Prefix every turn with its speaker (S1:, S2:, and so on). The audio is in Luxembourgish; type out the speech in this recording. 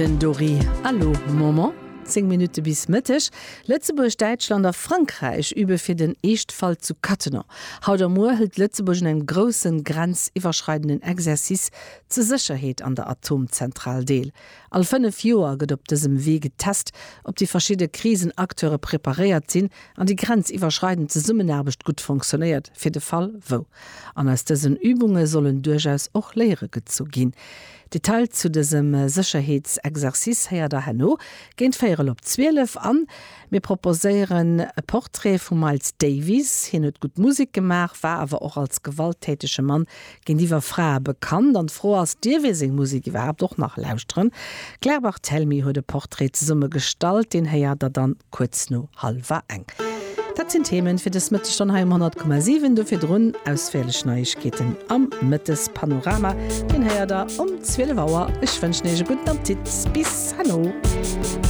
S1: Den Dori Allo Moment. 10 Minutte bis Mëtteg. Lëtzebuerg, Däitschland a Frankräich übe fir den Eeschtfall zu Cattenom. Haut a muer hëlt Lëtzebuerg un engem groussen grenziwwerschreidenden Exercice zur Sécherheet an der Atomzentral deel. All 5 Joer gëtt op dësem Wee getest, ob déi verschidde Krisenacteure preparéiert sinn an déi grenziwwerschreidend Zesummenaarbecht gutt fonctionnéiert, fir de Fall wou. An aus dësen Übunge sollen duerchaus och Léiere gezu ginn. Detail zu dësem Sécherheetsexercice héiert der herno géint véierel op 12. An mir proposéieren e Portrait vum Miles Davis. Hien huet gutt Musek gemaach, war awer och als gewalttätege Mann géintiwwer Frae bekannt. An d'Fro ass, Dierf ee seng Musek iwwerhaapt och nach lauschteren? D'Claire Barthelmy huet e Portrait zesumme gestallt, deen héiert der dann kuerz no hallwer eng. Dat sinn d'Themen fir dës Mëttesstonn hei um 100,7. Do virdrun ausféierlech Neiegkeeten am Mëttespanorama, deen héiert der um 12 Auer. Ech wënschen iech e gudden Appetit. Bis herno.